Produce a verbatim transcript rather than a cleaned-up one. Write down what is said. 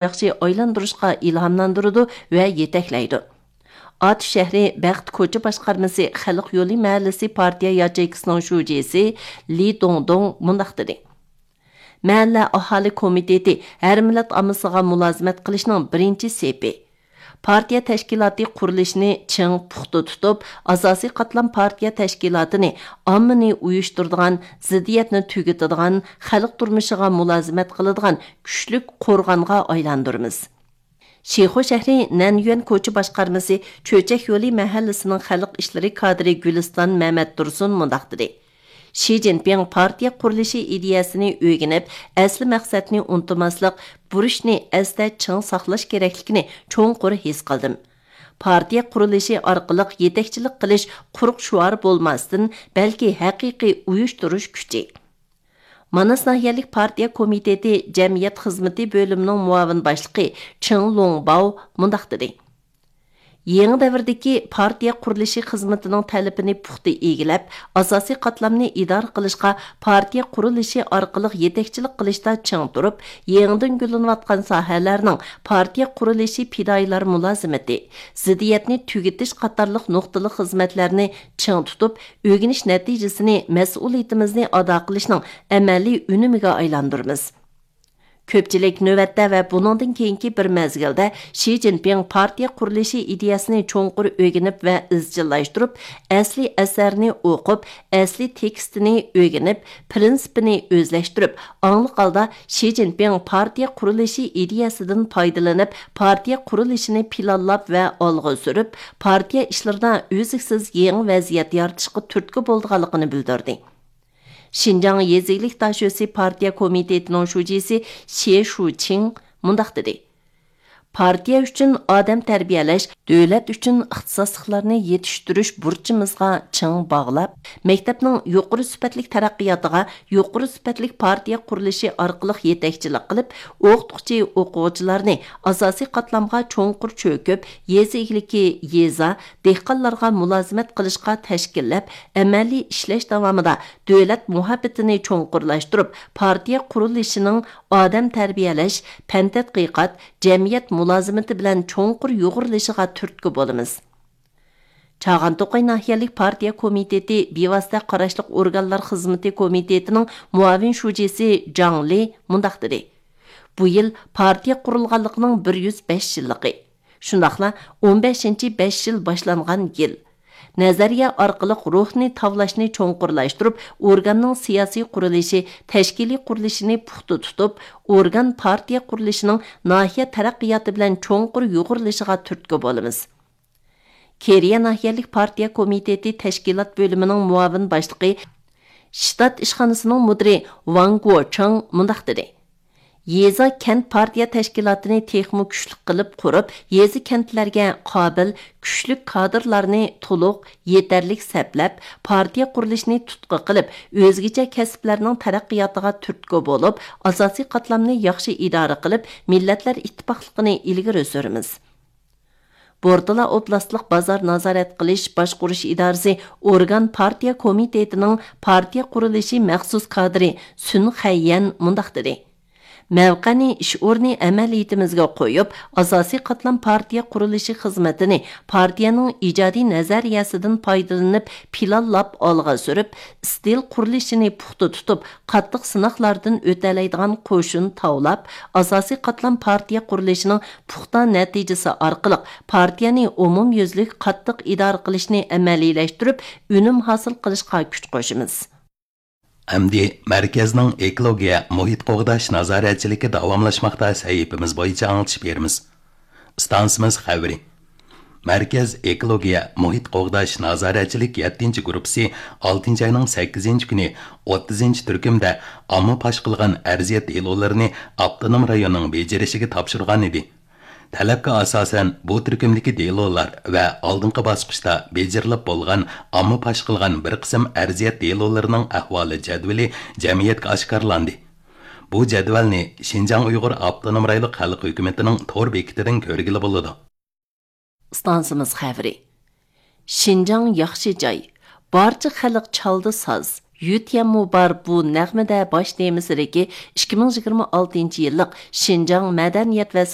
ياخشى ئايلاندۇرۇشقا ئىلھاملاندۇرىدۇ ۋە يېتەكلەيدۇ. ئاتۇش شەھىرى بەخت كوچا باشقارمىسى خەلق يولى مەھەللىسى پارتىيە ياچېيكىسىنىڭ شۇجىسى لى دۇڭدۇڭ مۇنداق دېدى: مەھەللە ئاھالە كومىتېتى ھەر مىللەت ئاممىسىغا مۇلازىمەت قىلىشنىڭ بىرىنچى سېپى. پارتىيە تەشكىلاتى قۇرۇلۇشىنى چىڭ، پۇختا تۇتۇپ، ئاساسىي قاتلام پارتىيە تەشكىلاتىنى ئاممىنى ئۇيۇشتۇرىدىغان، زىددىيەتنى تۈگىتىدىغان، خەلق تۇرمۇشىغا مۇلازىمەت قىلىدىغان كۈچلۈك قورغانغا ئايلاندۇرىمىز. شىخۇ شەھىرى نەنيۈەن كوچا باشقارمىسى چۆچەك يولى مەھەللىسىنىڭ خەلق ئىشلىرى كادىرى گۈلىستان مەمەتتۇرسۇن مۇنداق دېدى: شى جىنپىڭ پارتىيە قۇرۇلۇشى ئىدىيەسىنى ئۆگىنىپ، ئەسلى مەقسەتنى ئۇنتۇماسلىق، بۇرچنى ئەستە چىڭ ساقلاش كېرەكلىكىنى چوڭقۇر ھېس قىلدىم. پارتىيە قۇرۇلۇشى ئارقىلىق يېتەكچىلىك قىلىش قۇرۇق شوئار بولماستىن، بەلكى ھەقىقىي ئۇيۇشتۇرۇش كۈچى. ماناس ناھىيەلىك پارتىيە كومىتېتى جەمئىيەت خىزمىتى بۆلۈمىنىڭ مۇئاۋىن باشلىقى چېڭ لوڭباۋ مۇنداق دېدى: يېڭى دەۋردىكى پارتىيە قۇرۇلۇشى خىزمىتىنىڭ تەلىپىنى پۇختا ئىگىلەپ، ئاساسىي قاتلامنى ئىدارە قىلىشقا پارتىيە قۇرۇلۇشى ئارقىلىق يېتەكچىلىك قىلىشتا چىڭ تۇرۇپ، يېڭىدىن گۈللىنىۋاتقان ساھەلەرنىڭ پارتىيە قۇرۇلۇشى پىدائىيلار مۇلازىمىتى، زىددىيەتنى تۈگىتىش قاتارلىق نۇقتىلىق خىزمەتلەرنى چىڭ تۇتۇپ، ئۆگىنىش نەتىجىسىنى مەسئۇلىيىتىمىزنى ئادا قىلىشنىڭ ئەمەلىي ئۈنۈمىگە ئايلاندۇرىمىز. كۆپچىلىك نۆۋەتتە ۋە بۇنىڭدىن كېيىنكى بىر مەزگىلدە شى جىنپىڭ پارتىيە قۇرۇلۇشى ئىدىيەسىنى چوڭقۇر ئۆگىنىپ ۋە ئىزچىللاشتۇرۇپ، ئەسلىي ئەسەرنى ئوقۇپ، ئەسلىي تېكىستىنى ئۆگىنىپ، پىرىنسىپىنى ئۆزلەشتۈرۈپ، ئاڭلىق ھالدا شى جىنپىڭ پارتىيە قۇرۇلۇشى ئىدىيەسىدىن پايدىلىنىپ، پارتىيە قۇرۇلۇشىنى پىلانلاپ ۋە ئالغا سۈرۈپ، پارتىيە ئىشلىرىدا ئۈزلۈكسىز يېڭى ۋەزىيەت يارىتىشقا تۈرتكە بولىدىغانلىقىنى بىلدۈردى. شىنجاڭ يېزا ئىگىلىك داشۆسى پارتىيە كومىتېتىنىڭ شۇجىسى شې شۇچىڭ مۇنداق دېدى: پارتىيە ئۈچۈن ئادەم تەربىيەلەش، دۆلەت ئۈچۈن ئىختىساسلىقلارنى يېتىشتۈرۈش بۇرچىمىزغا چىڭ باغلاپ، مەكتەپنىڭ يۇقىرى سۈپەتلىك تەرەققىياتىغا يۇقىرى سۈپەتلىك پارتىيە قۇرۇلۇشى ئارقىلىق يېتەكچىلىك قىلىپ، ئوقۇتقۇچى ئوقۇغۇچىلارنى ئاساسىي قاتلامغا چوڭقۇر چۆكۈپ، يېزا ئىگىلىكى، يېزا، دېھقانلارغا مۇلازىمەت قىلىشقا تەشكىللەپ، ئەمەلىي ئىشلەش داۋامىدا دۆلەت مۇھەببىتىنى چوڭقۇرلاشتۇرۇپ، پارتىيە قۇرۇلۇشىنىڭ ئادەم تەربىيەلەش، پەن تەتقىقات، جەمئىيەت مۇلازىمىتى بىلەن چوڭقۇر يۇغۇرۇلۇشىغا تۈرتكە بولىمىز. چاغان توقاي ناھىيەلىك پارتىيە كومىتېتى بىۋاسىتە قاراشلىق ئورگانلار خىزمىتى كومىتېتىنىڭ مۇئاۋىن شۇجىسى جاڭ لى مۇنداق دېدى: بۇ يىل پارتىيە قۇرۇلغانلىقىنىڭ بىر يۈز بەش يىللىقى. شۇنداقلا ئون بەشىنچى بەش يىل باشلانغان يىل. نەزەرىيە ئارقىلىق روھنى تاۋلاشنى چوڭقۇرلاشتۇرۇپ، ئورگاننىڭ سىياسىي قۇرۇلۇشى، تەشكىلىي قۇرۇلۇشىنى پۇختا تۇتۇپ، ئورگان پارتىيە قۇرۇلۇشىنىڭ ناھىيە تەرەققىياتى بىلەن چوڭقۇر يۇغۇرۇلۇشىغا تۈرتكە بولىمىز. كېرىيە ناھىيەلىك پارتىيە كومىتېتى تەشكىلات بۆلۈمىنىڭ مۇئاۋىن باشلىقى، شتات ئىشخانىسىنىڭ مۇدىرى ۋاڭ گوچېڭ مۇنداق دېدى: يېزا، كەنت پارتىيە تەشكىلاتىنى تېخىمۇ كۈچلۈك قىلىپ قۇرۇپ، يېزا، كەنتلەرگە قابىل، كۈچلۈك كادىرلارنى تولۇق، يېتەرلىك سەپلەپ، پارتىيە قۇرۇلۇشىنى تۇتقا قىلىپ، ئۆزگىچە كەسىپلەرنىڭ تەرەققىياتىغا تۈرتكە بولۇپ، ئاساسىي قاتلامنى ياخشى ئىدارە قىلىپ، مىللەتلەر ئىتتىپاقلىقىنى ئىلگىرى سۈرىمىز. بورتالا ئوبلاستلىق بازار نازارەت قىلىش باشقۇرۇش ئىدارىسى ئورگان پارتىيە كومىتېتىنىڭ پارتىيە قۇرۇلۇشى مەخسۇس كادىرى سۈن خەييەن مۇنداق دېدى: مەۋقەنى ئىش ئورنى ئەمەلىيىتىمىزگە قويۇپ، ئاساسىي قاتلام پارتىيە قۇرۇلۇشى خىزمىتىنى پارتىيەنىڭ ئىجادىي نەزەرىيەسىدىن پايدىلىنىپ پىلانلاپ ئالغا سۈرۈپ، ئىستىل قۇرۇلۇشىنى پۇختا تۇتۇپ، قاتتىق سىناقلاردىن ئۆتەلەيدىغان قوشۇن تاۋلاپ، ئاساسىي قاتلام پارتىيە قۇرۇلۇشىنىڭ پۇختا نەتىجىسى ئارقىلىق پارتىيەنى ئومۇميۈزلۈك قاتتىق ئىدارە قىلىشنى ئەمەلىيلەشتۈرۈپ، ئۈنۈم ھاسىل قىلىشقا كۈچ قوشىمىز. ئەمدى مەركەزنىڭ ئېكولوگىيە مۇھىت قوغداش نازارەتچىلىكى داۋاملاشماقتا سەھىپىمىز بويىچە ئاڭلىتىش بېرىمىز. ئىستانسىمىز خەۋىرى. مەركەز ئېكولوگىيە مۇھىت قوغداش نازارەتچىلىك يەتتىنچى گۇرۇپپىسى ئالتىنچى ئاينىڭ سەككىزىنچى كۈنى ئوتتۇزىنچى تۈركۈمدە ئامما پاش قىلغان ئەرزىيەت دېلولىرىنى ئاپتونوم رايوننىڭ بېجىرىشىگە تاپشۇرغان ئىدى. تەلەپكە ئاساسەن، بۇ تۈركۈمدىكى دېلولار ۋە ئالدىنقى باسقۇچتا بېجىرىلىپ بولغان ئامما پاش قىلغان بىر قىسىم ئەرزىيەت دېلولىرىنىڭ ئەھۋالى جەدۋىلى جەمئىيەتكە ئاشكارىلاندى. بۇ جەدۋەلنى شىنجاڭ ئۇيغۇر ئاپتونوم رايونلۇق خەلق ھۆكۈمىتىنىڭ تور بېكىتىدىن كۆرگىلى بولىدۇ. ئىستانسىمىز خەۋىرى. شىنجاڭ ياخشى جاي. بارچە خەلق چالدى ساز، يۈتيەنمۇ بار بۇ نەغمىدە باش تېمىسىدىكى ئىككى مىڭ يىگىرمە ئالتىنچى يىللىق شىنجاڭ مەدەنىيەت ۋە